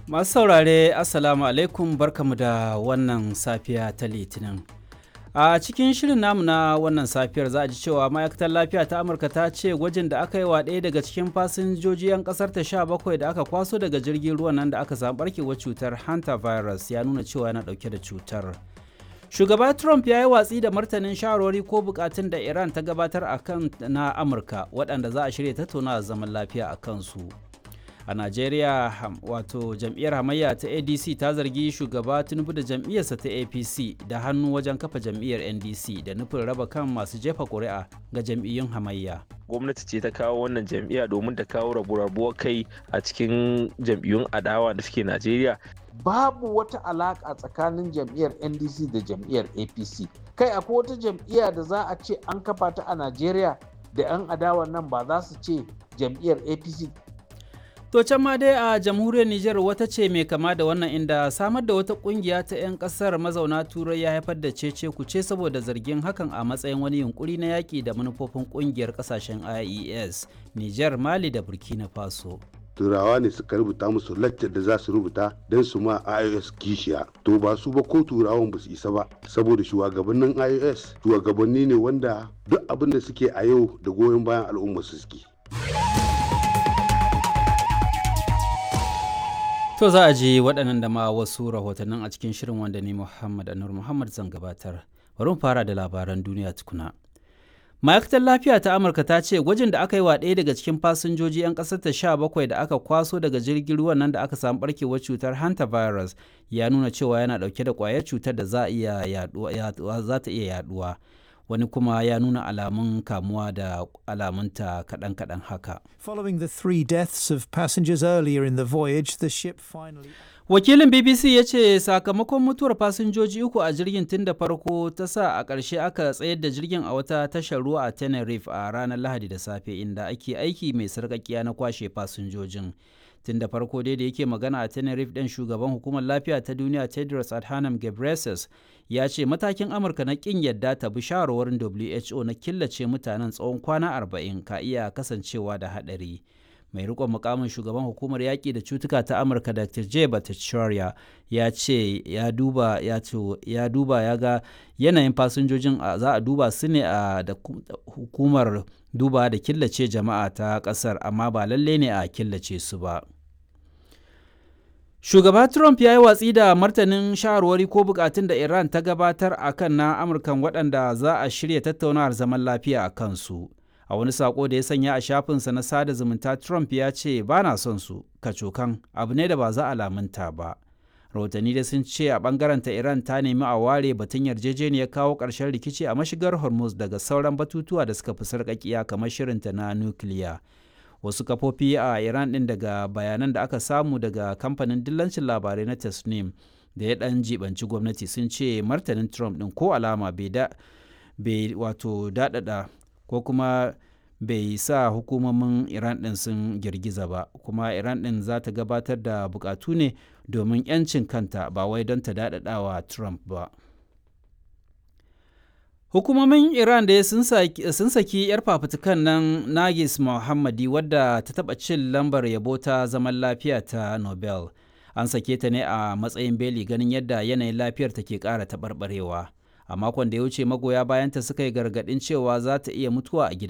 Masu saurare, Assalamu alaikum, barkamu da wannan safiya ta Litinin. A cikin shirin namu na wannan safiyar za a ji cewa ma'aikatar lafiya ta Amurka ta ce gwajin da aka yi wa ɗaya daga cikin fasinjoji 'yan ƙasar ta 17 da aka kwaso daga jirgin ruwan nan da aka samu barkewar cutar hanta virus ya nuna cewa yana ɗauke da cutar. Shugaba Trump ya yi watsi da martanin shawarwari ko bukatun da Iran ta gabatar a kan na Amurka waɗanda za a shirya tattaunawa zaman lafiya a kansu. A Najeriya, wato jam'iyyar hamayya ta ADC ta zargi Shugaba Tinubu da jam'iyyarsa ta APC da hannu wajen kafa jam'iyyar NDC da nufin raba kan masu jefa ƙuri'a ga jam'iyyun hamayya. Gwamnati ce ta kawo wannan jam'iyya domin ta kawo rabu-rabuwar kai a cikin jam'iyyun adawa da suke Najeriya. Babu wata alaƙa tsakanin jam'iyyar NDC da jam'iyyar APC. Kai, akwai wata jam'iyya da za a ce an kafa ta a Najeriya da 'yan adawa nan ba za su ce jam'iyyar APC? To can ma dai a jamhuriyar Nijar wata ce mai kama da wannan, inda samar da wata kungiya ta 'yan kasar mazauna Turai ya haifar da cece kuce saboda zargin hakan a matsayin wani yunkuri na yaƙi da manufofin kungiyar kasashen IES, Nijar, Mali da Burkina Faso. Turawa ne suka rubuta musu laccar da za su rubuta don su ma IOS kishiya. To ba su ba, ko turawan ba su isa ba, saboda shugabannin IOS shugabanni ne wanda duk abin da suke a yau da goyon bayan al'umma su suke. To za a ji waɗannan da ma wasu rahotannin a cikin shirin wanda ni Muhammad Anur Muhammad zan gabatar. Bari mu fara da labaran duniya tukuna. Ma'aikatar lafiya ta Amurka ta ce gwajin da aka yi wa ɗaya daga cikin fasinjoji 'yan ƙasar ta 17 da aka kwaso daga jirgin ruwan nan da aka samu barkewar cutar hanta virus ya nuna cewa yana ɗauke da ƙwayar cutar da za ta iya yaduwa. Wani kuma ya nuna alamun kamuwa da alamunta kaɗan-kaɗan haka. Following the three deaths of passengers earlier in the voyage, the ship finally. Wakilin BBC ya ce sakamakon mutuwar fasinjoji uku a jirgin tun da farko ta sa a ƙarshe aka tsayar da jirgin a wata tashar ruwa a Tenerife a ranar Lahadi da safe, inda ake aiki mai sarƙaƙiya na kwashe fasinjojin. Tun da farko dai da yake magana a Tenerife ɗin, shugaban hukumar lafiya ta duniya Tedros Adhanom Ghebreyesus ya ce matakin Amurka na ƙin yadda ta bi shawarwarin WHO na killace mutanen tsawon kwana 40 ka iya kasancewa da haɗari. Mai rikon mukamin shugaban hukumar yaƙi da cutuka ta Amurka, Dr. J Bhattacharya, ya ce ya duba ya ce ya duba ya ga yanayin fasinjojin, za a duba su ne a da hukumar duba da killace jama'a ta ƙasar, amma ba lalle ne a killace su ba. Shugaba Trump ya yi watsi da martanin shawarwari ko bukatun da Iran ta gabatar a kan na Amurkan waɗanda za a shirya tattaunawar zaman lafiya a kansu. A wani sako da ya sanya a shafinsa na sada zumunta, Trump ya ce ba na son su kacokan, abu ne da ba za a lamunta ba. Rahotanni da sun ce a bangaren ta Iran ta nemi a ware batun yarjejeniyar kawo ƙarshen rikici a mashigar Hormuz daga sauran batutuwa da suka fi sarƙaƙiya kamar shirinta na nukiliya. Wasu kafofi a Iran ɗin, daga bayanan da aka samu daga kamfanin dillancin labarai na Tasnim da ya ɗan jibanci gwamnati, sun ce martanin Trump ɗin ko alama bai wato daɗaɗa ko kuma bai sa hukumomin Iran ɗin sun girgiza ba, kuma Iran ɗin za ta gabatar da bukatu ne domin 'yancin kanta, ba wai don ta daɗaɗawa Trump ba. Hukumomin Iran da sun saki 'yar fafutukan nan Nagis Mohammadi, wadda ta taɓa cin lambar yabo ta zaman lafiya ta Nobel. An sake ta ne a matsayin beli ganin yadda yanayin lafiyar ta ke ƙara taɓarɓarewa. A makon da ya wuce magoya bayanta suka yi gargaɗin cewa za ta iya mutuwa a gida.